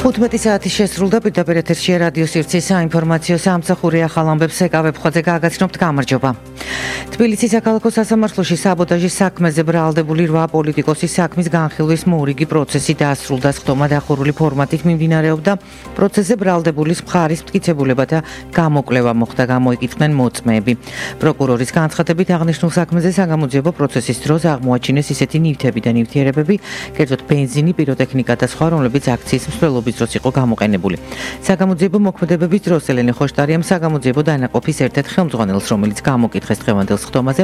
15 საათი შესრულდა პირდაპირ ეთერში რადიო სივრცის საინფორმაციო სამსახური ახალ ამბებს ეკავებხოძე გაგაცნობთ გამარჯობა. თბილისის საქალაქო სასამართლოში საბოტაჟის საქმეზე ბრალდებული 8 პოლიტიკოსის საქმის განხილვის მორიგი პროცესი დაასრულდა. სხდომა დახურული ფორმატით მიმდინარეობდა. პროცესზე ბრალდებულის მხარის მტკიცებულებათა გამოკვლევა მოხდა, გამოიკითხნენ მოწმეები. პროკურორის განცხადებით აღნიშნულ საქმეზე საგამოძიებო პროცესის დროს აღმოაჩინეს ისეთი ნივთები და ნივთიერებები, კერძოდ ბენზინი, პიროტექნიკა და სხვა, რომლებიც აქციის მსვლელობის დროს იყო გამოყენებული. საგამოძიებო მოქმედებების დროს ელენე ხოშტარიამ საგამოძიებო დანაყოფის ერთ-ერთ ხელმძღვანელს, რომელიც გამოკითხეს დღევანდელ სხდომაზე,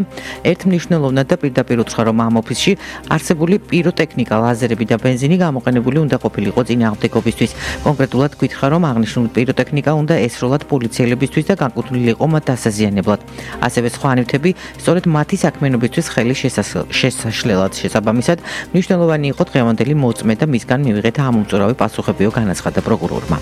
ერთ მნიშვნელოვნად და პირდაპირ უთხრა, რომ ამ ოფისში არსებული პიროტექნიკა, ლაზერები და ბენზინი გამოყენებული უნდა ყოფილიყო წინააღმდეგობისთვის. კონკრეტულად გითხრა, რომ აღნიშნული პიროტექნიკა უნდა ესროლათ პოლიციელებისთვის და განკუთვნილიყო მათ დასაზიანებლად. ასევე სხვა ნივთები სწორედ მათი საქმიანობისთვის ხელი შესაშლელად. შესაბამისად, მნიშვნელოვანი იყო დღევანდელი მოწმე და მისგან მივიღეთ ამომწურავი პასუხებიო, განაცხადა პროკურორმა.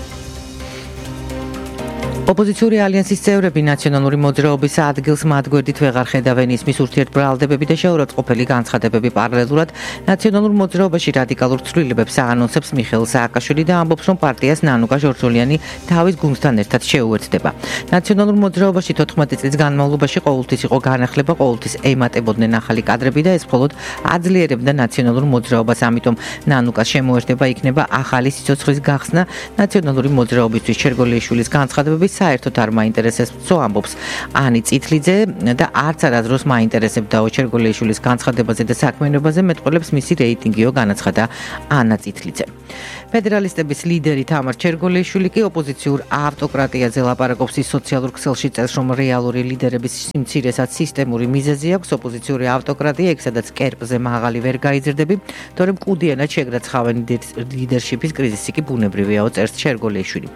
ოპოზიციური ალიანსის წევრები ნაციონალური მოძრაობის ადგილს მათ გვერდით ვეღარ ხედავენ. ისმის ურთიერთბრალდებები და შეურაცხყოფელი განცხადებები პარალელურად ნაციონალურ მოძრაობაში რადიკალურ ცვლილებებს აანონსებს მიხეილ სააკაშვილი და ამბობს, რომ პარტიას ნანუკა ჟორჟოლიანი თავის გუნდთან ერთად შეუერთდება. ნაციონალურ მოძრაობაში 14 წლის განმავლობაში ყოველთვის იყო განახლება, ყოველთვის ემატებოდნენ ახალი კადრები და ეს მხოლოდ აძლიერებდა ნაციონალურ მოძრაობას. ამიტომ ნანუკას შემოერთება იქნება ახალი სიცოცხლის გახსნა. ნაციონალური მოძრაობისთვის ჩერგოლიაშვილის განცხადებები საერთოდ არ მაინტერესებს, ამბობს ანი წითლიძე და არც არასდროს მაინტერესებდაო ჩერგოლიაშვილის განცხადებაზე და საქმიანობაზე მეტყველებს მისი რეიტინგიო, განაცხადა ანა წითლიძე. ფედერალისტების ლიდერი თამარ ჩერგოლიაშვილი კი ოპოზიციურ ავტოკრატიაზე ლაპარაკობს. ის სოციალურ ქსელში წერს, რომ რეალური ლიდერების სიმცირესაც სისტემური მიზეზი აქვს. ოპოზიციური ავტოკრატია, იქ სადაც კერპზე მაღალი ვერ გაიზრდები, თორემ კუდიანად შეგრაცხავენ ლიდერშიპის კრიზისი კი ბუნებრივიაო, წერს ჩერგოლიაშვილი.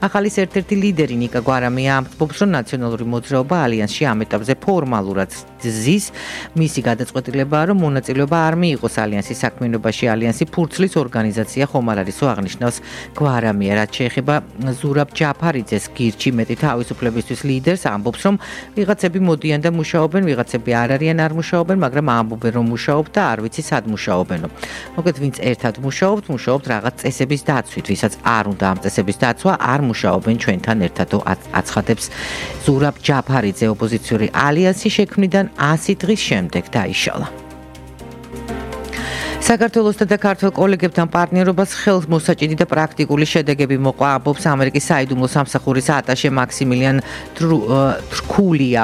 ახალის ერთ-ერთი ლიდერი ნიკა გვარამია ამბობს, რომ ნაციონალური მოძრაობა ალიანსში ამ ეტაპზე ფორმალურად ზის. მისი გადაწყვეტილებაა, რომ მონაწილეობა არ მიიღოს ალიანსის საქმიანობაში. ალიანსი ფურცლის ორგანიზაცია ხომ არ არისო, აღნიშნავს გვარამია. რაც შეეხება ზურაბ ჯაფარიძეს, გირჩი მეტი თავისუფლებისთვის ლიდერს, ამბობს, რომ ვიღაცები მოდიან და მუშაობენ, ვიღაცები არ არიან, არ მუშაობენ, მაგრამ ამბობენ, რომ მუშაობ და არ ვიცი სად მუშაობენო. მოკლედ, ვინც ერთად მუშაობთ რაღაც წესების დაცვით, ვისაც არ უნდა ამ წესების დაცვა, არ მუშაობენ ჩვენთან ერთად. აცხადებს ზურაბ ჯაფარიძე. ოპოზიციური ალიანსი შექმნიდან 100 დღის შემდეგ დაიშალა. საქართველოსთან და ქართველ კოლეგებთან პარტნიორობას ხელმოსაჭიდი და პრაქტიკული შედეგები მოყვა, ამბობს ამერიკის საიდუმლო სამსახურის ატაშე მაქსიმილიან თრკულია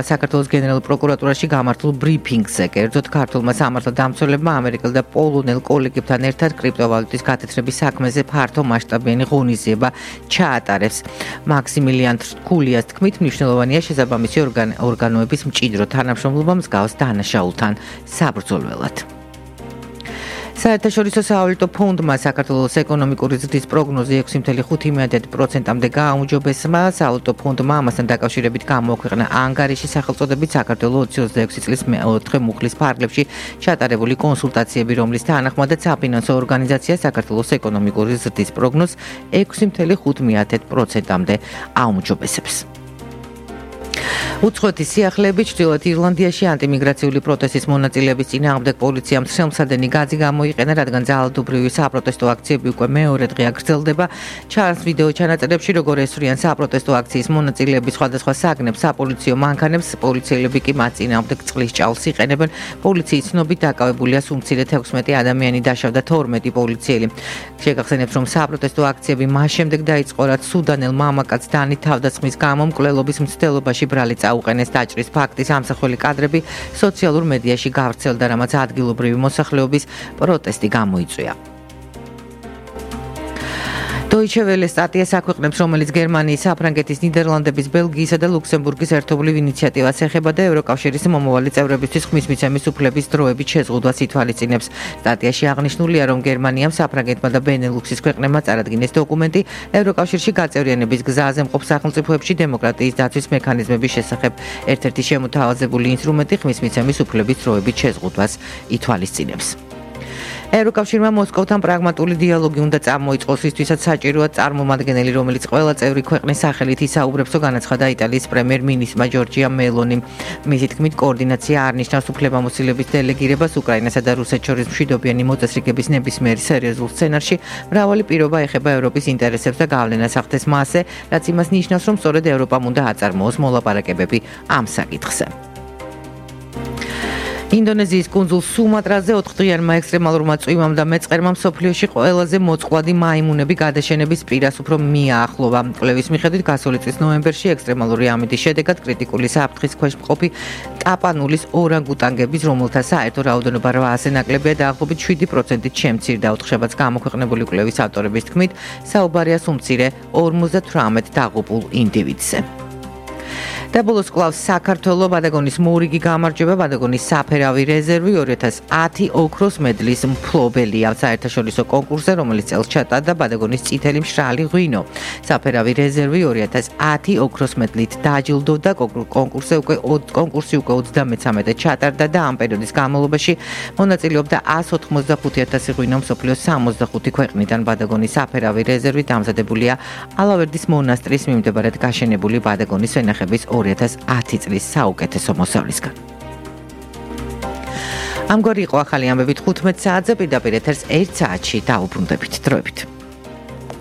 საქართველოს გენერალურ პროკურატურაში გამართულ ბრიფინგზე. კერძოდ, ქართულმა სამართალდამცველებმა ამერიკელ და პოლონელ კოლეგებთან ერთად კრიპტოვალუტის გათეთრების საქმეზე ფართო მასშტაბიანი ღონისძიება ჩაატარეს. მაქსიმილიან თრკულიას თქმით, მნიშვნელოვანია შესაბამისი ორგანოების მჭიდრო თანამშრომლობა მსგავს დანაშაულთან საბრძოლველად. საერთაშორისო სავალუტო ფონდმა საქართველოს ეკონომიკური ზრდის პროგნოზი 6.5%-მდე გააუმჯობესა. სავალუტო ფონდმა ამასთან დაკავშირებით გამოაქვეყნა ანგარიში სახელწოდებით საქართველოს 2026 წლის 4 მუხლის ფარგლებში ჩატარებული კონსულტაციები, რომლის თანახმადაც საფინანსო ორგანიზაცია საქართველოს ეკონომიკური ზრდის პროგნოზს 6.5%-მდე აუმჯობესებს. უცხოეთის სიახლეებით ჩრდილოეთ ირლანდიაში ანტიმიგრაციული პროტესტის მონაწილეების წინააღმდეგ პოლიციამ ხელმსადენი გაზი გამოიყენა, რადგან ძალადობრივი საპროტესტო აქციები უკვე მეორე დღეა გრძელდება. ჩანს ვიდეო ჩანაწერებში, როგორ ესვრიან საპროტესტო აქციის მონაწილეები სხვადასხვა საგნებს, საპოლიციო მანქანებს, პოლიციელები კი მათ წინააღმდეგ წყლის ჭალს იყენებენ. პოლიციის ცნობით დაკავებულია სულ მცირედ 16 ადამიანი, დაშავდა 12 პოლიციელი. შეგახსენებთ, რომ საპროტესტო აქციები მას შემდეგ დაიწყო, რაც სუდანელ მამაკაცს დანით თავდასხმის გამო მკვლელობის მცდელობაში ბრალი წაუყენეს. დაჭრის ფაქტის ამსახველი კადრები სოციალურ მედიაში გავრცელდა, რამაც ადგილობრივი მოსახლეობის პროტესტი გამოიწვია. Deutsche Welle სტატიას აქვეყნებს, რომელიც გერმანიის, საფრანგეთის, ნიდერლანდების, ბელგიისა და ლუქსემბურგის ერთობლივ ინიციატივას ეხება და ევროკავშირის მომავალი წევრებისთვის ხმის მიცემის უფლების დროებით შეზღუდვას ითვალისწინებს. სტატიაში აღნიშნულია, რომ გერმანიამ, საფრანგეთმა და ბენელუქსის ქვეყნებმა წარადგინეს დოკუმენტი ევროკავშირში გაწევრიანების გზაზე მყოფ სახელმწიფოებში დემოკრატიის დაცვის მექანიზმების შესახებ. ერთ-ერთი შემოთავაზებული ინსტრუმენტი ხმის მიცემის უფლების დროებით შეზღუდვას ითვალისწინებს. ევროკავშირმა მოსკოვთან პრაგმატული დიალოგი უნდა წამოიწყოს, რისთვისაც საჭიროა წარმომადგენელი, რომელიც ყველა წევრი ქვეყნის სახელით ისაუბრებსო, განაცხადა იტალიის პრემიერ-მინისტრმა ჯორჯია მელონიმ. მისი თქმით, კოორდინაცია არ ნიშნავს უფლებამოსილების დელეგირებას უკრაინასა და რუსეთს შორის მშვიდობიანი მოწესრიგების ნებისმიერ სერიოზულ სცენარში. მრავალი პირობა ეხება ევროპის ინტერესებს და გავლენას ახდენს მასზე, რაც იმას ნიშნავს, რომ სწორედ ევროპამ უნდა აწარმოოს მოლაპარაკებები ამ საკითხზე. ინდონეზიის კუნძულ სუმატრაზე 4 დღიანმა ექსტრემალურმა წვიმამ და მეწყერმა მსოფლიოში ყველაზე მოწყვლადი მაიმუნები გადაშენების პირას უფრო მიაახლოვა. კვლევის მიხედვით გასული წლის ნოემბერში ექსტრემალური ამიდის შედეგად კრიტიკული საფრთხის ქვეშ მყოფი ტაპანულის ორანგუტანგების, რომელთა საერთო რაოდენობა 800-ზე ნაკლებია, დაახლოებით 7%-ით შემცირდა. ოთხშაბათს გამოქვეყნებული კვლევის ავტორების თქმით, საუბარია უმცირე 58 დაღუპულ ინდივიდზე. და ბოლოს კლავს საქართველოს ბადაგონის მორიგი გამარჯვება, ბადაგონის საფერავი რეზერვი 2010 ოქროს მედლის მფლობელია საერთაშორისო კონკურსზე, რომელიც წელს ჩატარდა ბადაგონის წითელი მშრალი ღვინო. საფერავი რეზერვი 2010 ოქროს მედლით დაჯილდოვდა, კონკურსი უკვე 33-ე ჩატარდა და ამ პერიოდის განმავლობაში მონაწილეობდა 185,000 ღვინო მსოფლიოს 65 ქვეყნიდან. ბადაგონის საფერავი რეზერვი დამზადებულია ალავერდის მონასტრის მიმდებარედ გაშენებული ბადაგონის ვენახების 2010 წლის საუკეთესო მოსავლისგან. ამგვარი იყო ახალი ამბებით 15 საათზე, პირდაპირ ეთერს 1 საათში დაუბრუნდებით. დროებით.